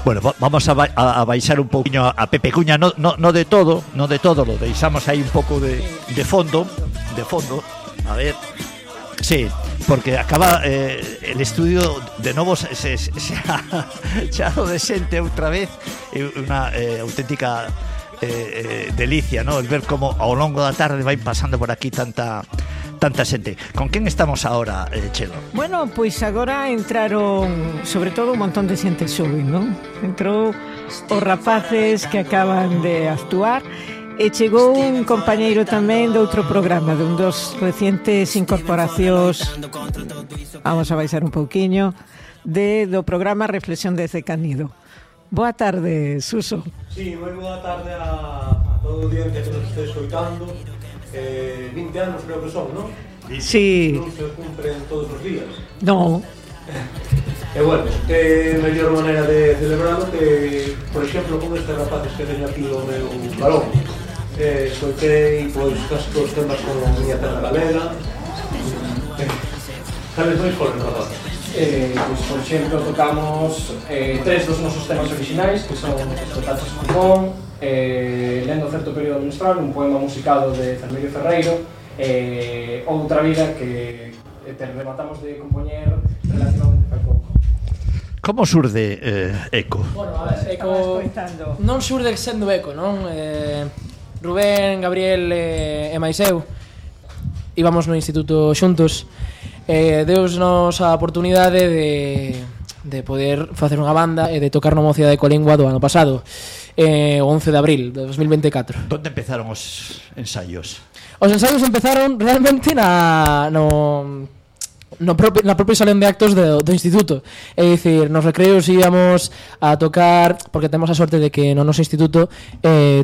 Bueno, vamos a baixar un poquinho a Pepe Cuña, no de todo, lo deixamos aí un pouco de fondo, a ver, sí, porque acaba el estudio de novo xa de xente outra vez, unha auténtica delicia, ¿no? El ver como ao longo da tarde vai pasando por aquí tanta xente. Con quen estamos ahora, Chelo? Bueno, pois agora entraron sobre todo un montón de xente xoven, non? Entrou os rapaces que acaban de actuar e chegou un compañeiro tamén de outro programa, de un dos recientes incorporacións, vamos a baixar un pouquiño, do programa Reflexión desde Canido. Boa tarde, Suso. Sí, moi boa tarde a todo o día que nos este escoitando. 20 anos creo que son, non? Sí. Non se cumpren todos os días. Non. E bueno, que mellor maneira de celebrarlo que, por exemplo, con estes rapaces que teño aquí o meu balón. Escoitei, pois, casi todos os temas con a miña terra galega. Cales máis foron, rapaces? Pois, por exemplo, tocamos 3 dos nosos temas originais, que son Os Taches Pulmón, Lendo certo período menstrual, un poema musicado de Fermín Ferreiro, Outra vida, que rematamos de compoñer relativamente fai pouco. Como surde Eco? Bueno, a ver, Eco non surde sendo Eco, non? Rubén, Gabriel e máis eu íbamos no instituto xuntos. Deusnos a oportunidade de poder facer unha banda e de tocar no Mocidade Colingua do ano pasado, o 11 de abril de 2024. Onde empezaron os ensaios? Os ensaios empezaron realmente na propia salón de actos do instituto. É dicir, nos recreos íamos a tocar, porque temos a sorte de que no noso instituto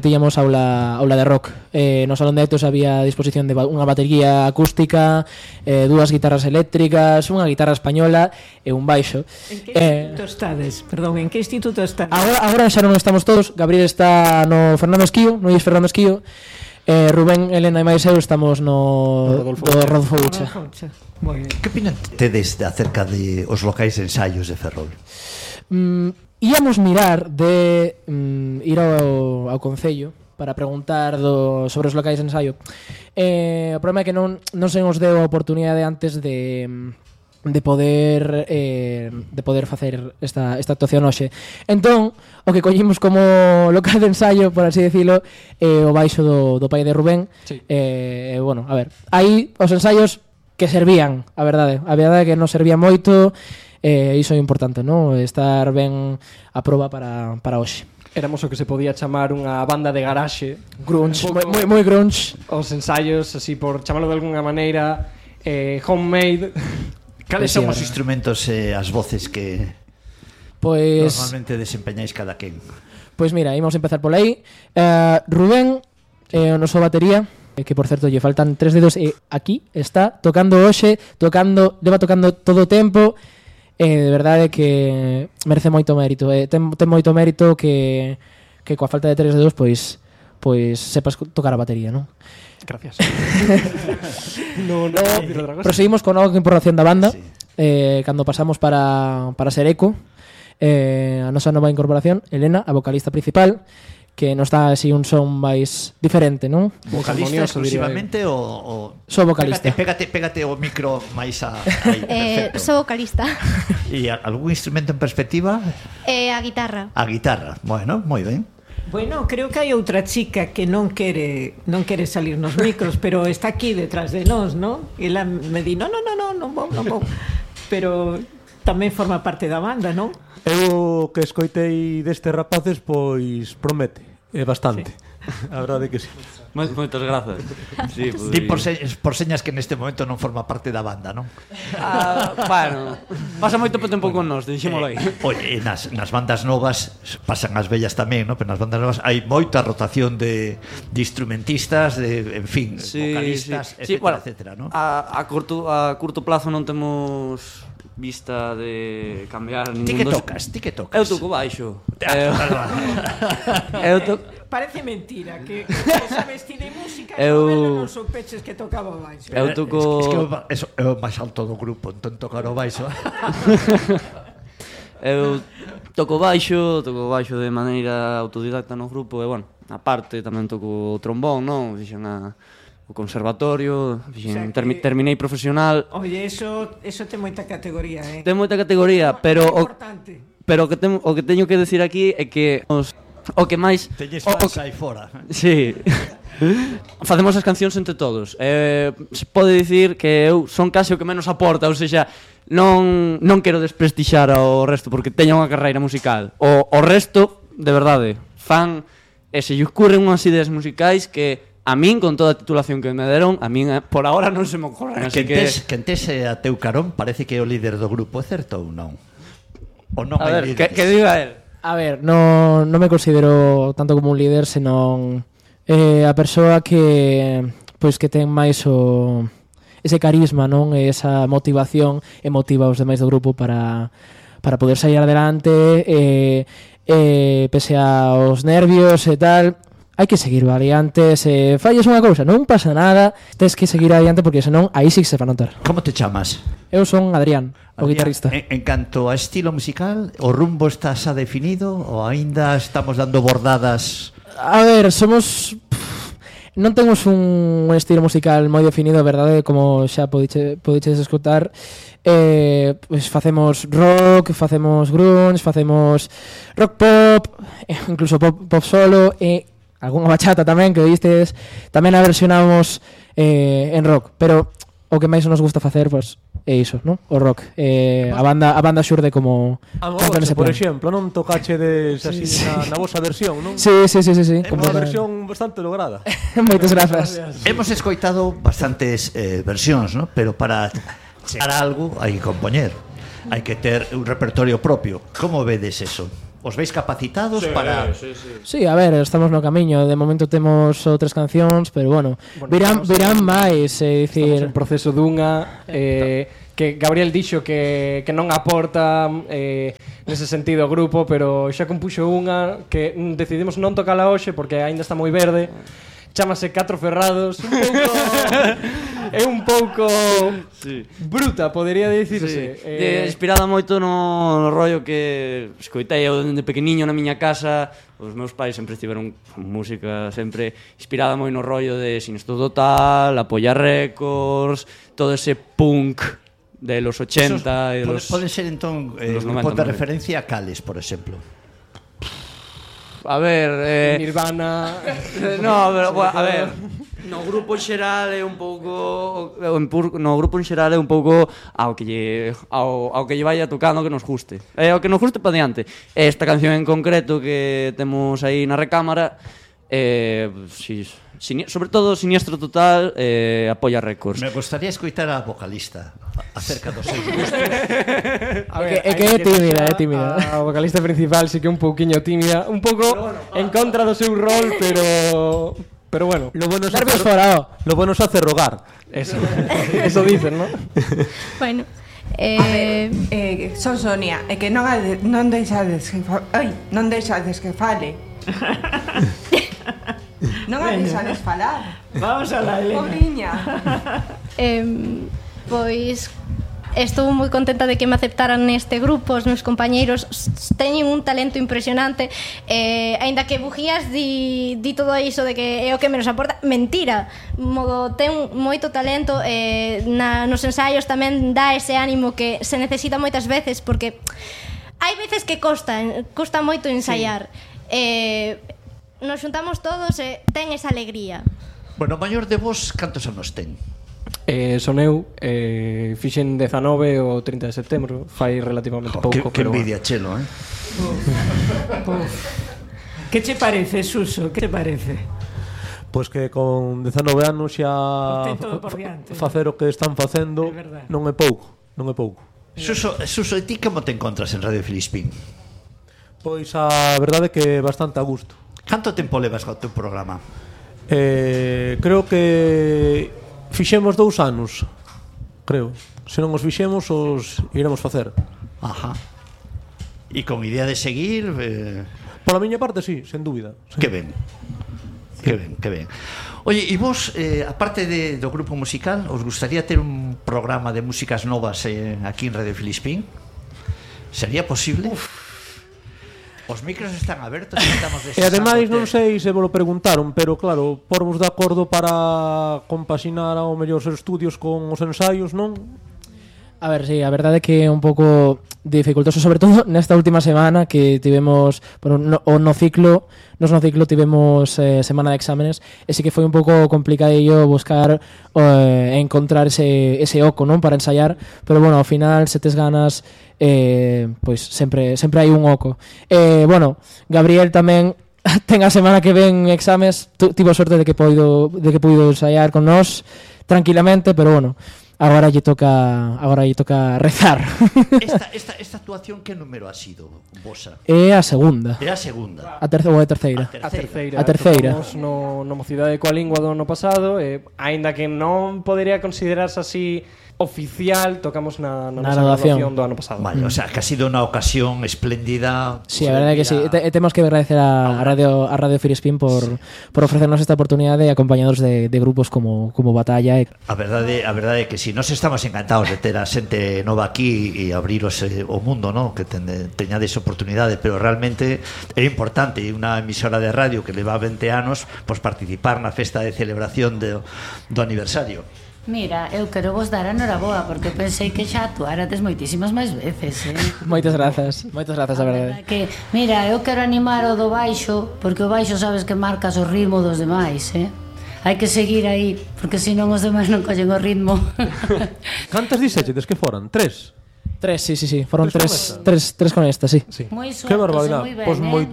tiñamos aula de rock. No salón de actos había a disposición de unha batería acústica, 2 guitarras eléctricas, unha guitarra española e un baixo. En que instituto estades? Perdón, en que instituto estades? Agora xa non estamos todos. Gabriel está no Fernando Esquío, no Luis Fernando Esquío. Rubén, Elena e máis eu estamos no Rodolfo Ucha. Que opinan tedes acerca de os locais de ensaios de Ferrol? Íamos mirar de ir ao Concello para preguntar sobre os locais de ensaio. O problema é que non se nos deu a oportunidade antes de poder facer esta actuación hoxe. Entón, o que collimos como local de ensaio, por así decirlo, o baixo do pai de Rubén. Sí. Bueno, a ver, aí os ensaios que servían, a verdade é que non servía moito, iso é importante, non? Estar ben a proba para hoxe. Éramos o que se podía chamar unha banda de garaxe, Grunge, moi grunge. Os ensaios, así por chamarlo de alguna maneira, homemade. Cales son os instrumentos e as voces que normalmente desempeñáis cada quen? Pois mira, ímos empezar por aí. Rubén, o noso batería, que por certo lle faltan 3 dedos, e aquí está tocando hoxe, leva tocando todo o tempo. De verdade que merece moito mérito, ten moito mérito que coa falta de 3 dedos pois sepas tocar a batería, non? Gracias. Proseguimos con nova incorporación da banda, sí. Cando pasamos para ser Eco, a nosa nova incorporación, Elena, a vocalista principal, que nos dá así un son máis diferente, non? Vocalista exclusivamente ou... Sou vocalista. Pégate o micro máis aí, perfecto. Sou vocalista. E algún instrumento en perspectiva? A guitarra. A guitarra, bueno, moi ben. Bueno, creo que hai outra chica que non quere salir nos micros, pero está aquí detrás de nós, non? E ela me di, non vou. Pero tamén forma parte da banda, non? Eu que escoitei destes rapaces, pois promete, bastante. Sí. A verdade que sí. Moitas grazas. Sí, Di por señas que neste momento non forma parte da banda, non? Bueno, pasa moito tempo con nós, dixémolo aí. Oye, nas bandas novas pasan as vellas tamén, non? Pero nas bandas novas hai moita rotación de instrumentistas, en fin, vocalistas, etcétera, non? A curto plazo non temos vista de cambiar ningún Ti que tocas? Eu toco baixo. Parece mentira que sabes ti de música e non son peches que tocaba baixo. Eu toco... É o máis alto do grupo, entón tocar o baixo. Eu toco baixo de maneira autodidacta no grupo e, bueno, aparte tamén toco o trombón, non? Fixen o conservatorio, fixen, terminei profesional. Oye, eso ten moita categoría, Ten moita categoría, pero o que teño que decir aquí é que o que máis Teñes fans aí fora. Sí. Facemos as cancións entre todos. Se pode dicir que eu son case o que menos aporta, ou seja, non quero desprestixar ao resto porque teña unha carreira musical. O resto, de verdade, fan e se lle ocurren unhas ideas musicais que a min, con toda a titulación que me deron, a min por ahora non se me ocorren. Que entese a teu carón parece que é o líder do grupo, é certo ou non? Ou non A hai ver, líderes? que diga él. A ver, non me considero tanto como un líder, senón a persoa que ten máis ese carisma, non? E esa motivación e motiva os demais do grupo para poder sair adelante pese aos nervios e tal. Hai que seguir adiante. Se fallas unha cousa, non pasa nada, tens que seguir adiante porque senón aí sí que se va a notar. Como te chamas? Eu son Adrián, o guitarrista. En canto a estilo musical, o rumbo está xa definido ou aínda estamos dando bordadas? A ver, non temos un estilo musical moi definido, a verdade, como xa podiches escutar. Pues facemos rock, facemos grunge, facemos rock pop, incluso pop solo e algunha bachata tamén que oístes. Tamén a versionamos en rock, pero o que máis nos gusta facer, pues, é iso, non? O rock. A banda xurde como por exemplo, non tocachedes así na vosa versión, non? Sí. É unha versión bastante lograda. Moitas grazas. Hemos escoitado bastantes versións, ¿no? Pero para chegar a algo hai que compoñer. Hai que ter un repertorio propio. Como vedes eso? Os veis capacitados para... Sí, a ver, estamos no camiño. De momento temos outras cancións, pero bueno, virán máis, é dicir... Estamos en proceso dunha que Gabriel dixo que non aporta nese sentido ao grupo, pero xa compuxo unha que decidimos non tocala hoxe porque aínda está moi verde. Chámase Catro Ferrados. É un pouco bruta, podería dicirse. Inspirada moito no rollo que escoitei eu dende pequeniño na miña casa. Os meus pais sempre estiveron con música, sempre inspirada moi no rollo de Sinestro Total, Apoya Records, todo ese punk de los 80 e los... Poden ser entón grupos de referencia a cales, por exemplo. A ver, Nirvana. No, pero a ver, no grupo en xeral é un pouco ao que lle vaya tocando que nos guste. Ao que nos guste para diante. Esta canción en concreto que temos aí na recámara, sobre todo Siniestro Total, Apoya Records. Me gustaría escoitar a vocalista acerca dos seus gustos. É que é tímida. A vocalista principal sí que é un pouquiño tímida, un pouco en contra do seu rol, pero bueno, Lo bueno es hacer rogar. Eso dicen, ¿no? Bueno, son Sonia, é que non deixades que fale. Non a deixades falar. Vamos a la Elena. Pobriña. pois estou moi contenta de que me aceptaran neste grupo. Os meus compañeiros teñen un talento impresionante, aínda que Bujías di todo iso de que é o que menos aporta. Mentira, ten moito talento, nos ensaios tamén dá ese ánimo que se necesita moitas veces, porque hai veces que costa moito ensaiar. Nos xuntamos todos e ten esa alegría. Bueno, o maior de vos, cantos anos ten? Son eu, fixen 19 o 30 de setembro, fai relativamente pouco. Que envidia, chelo, Que che parece, Suso? Que te parece? Pois que con 19 anos xa facer o que están facendo non é pouco. Suso, e ti como te encontras en Radio Filispín? Pois a verdade é que bastante a gusto. Canto tempo levas co teu programa? Creo que fixemos 2 anos, creo. Se non os fixemos, os iremos facer. Ajá. E con idea de seguir? Pola miña parte, sí, sen dúbida. Sí. Que ben. Oye, e vos, aparte do grupo musical, os gustaría ter un programa de músicas novas aquí en Radio Filispín? Sería posible? Os micros están abertos e estamos E ademais non sei se vos lo preguntaron, pero claro, porvos de acordo para compaxinar ao mellor os estudios con os ensaios, non? A ver, sí, a verdade é que é un pouco dificultoso, sobre todo nesta última semana que tivemos, bueno, no ciclo tivemos semana de exámenes, e sí que foi un pouco complicadillo buscar encontrar ese oco, non, para ensaiar, pero bueno, ao final se tes ganas, pois sempre hai un oco. Bueno, Gabriel tamén ten a semana que ven exames, tivo sorte de que puido ensaiar con nós tranquilamente, pero bueno, agora lle toca rezar. Esta actuación que número ha sido, vosa? É a segunda. É a segunda. A terceira. A terceira. Tocamos no Mocidade coa Lingua do ano pasado, aínda que non podería considerarse así oficial, tocamos na graduación do ano pasado. Vale, o sea, que ha sido unha ocasión espléndida. Sí, a verdade é que sí. Temos que agradecer a Radio Filispín por ofrecernos esta oportunidade, acompañados de grupos como Batalla. A verdade é que sí, nos estamos encantados de ter a xente nova aquí e abriros o mundo, ¿no? Que teñades oportunidade, pero realmente é importante unha emisora de radio que leva 20 anos pois participar na festa de celebración do aniversario. Mira, eu quero vos dar a noraboa porque pensei que xa actuárades moitísimas máis veces, Moitas grazas, a verdade. Que, mira, eu quero animar o do baixo, porque o baixo sabes que marcas o ritmo dos demais, Hai que seguir aí, porque senón os demais non collen o ritmo. Cantas dixeches que foran? 3? 3, sí. Foron tres con esta, sí. Moi sueltos, que barbaridade. Pois moi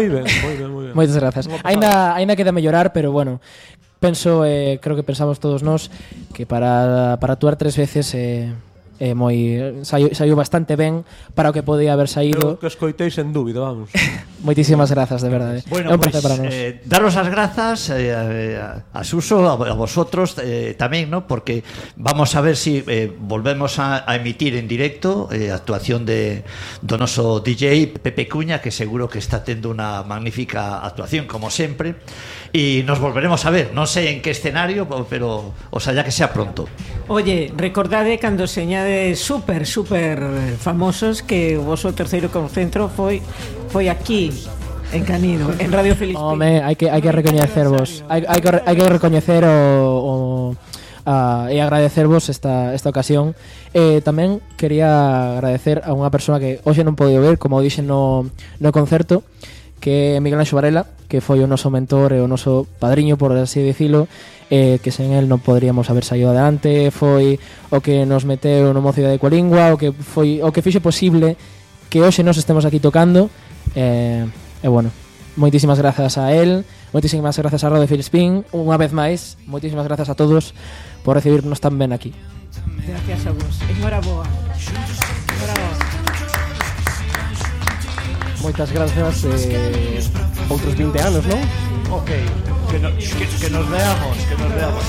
ben. Moitas grazas. Ainda queda mellorar, pero bueno, penso, creo que pensamos todos nós que para actuar 3 veces saiu bastante ben para o que podía haber saído. Que escoiteis en dúbida, vamos. Moitísimas grazas, de verdade. Bueno, é un placer para nós. Daros as grazas a Suso, a vosotros tamén, ¿no? Porque vamos a ver si volvemos a emitir en directo a actuación do noso DJ Pepe Cuña, que seguro que está tendo unha magnífica actuación, como sempre, e nos volveremos a ver, non sei en que escenario, pero oxalá que sea pronto. Oye, recordade cando señades super famosos que o voso terceiro concentro foi aquí en Canido, en Radio Filispín. Home, hai que recoñecervos. Hai que recoñecer e agradecervos esta ocasión. Tamén quería agradecer a unha persoa que hoxe non podido ver, como dixen no concerto, que é Miguel Anxo Varela, que foi o noso mentor e o noso padriño, por así dicilo, que sen el non poderíamos haber saído adelante. Foi o que nos meteu no Mocidade coa Lingua, o que fixo posible que hoxe nos estemos aquí tocando. Bueno, moitísimas grazas a él, moitísimas grazas a Radio Filispín, unha vez máis, moitísimas grazas a todos por recibirnos tan ben aquí. Gracias a vos. Enhoraboa. Moitas grazas, outros 20 anos, non? Ok, que nos veamos.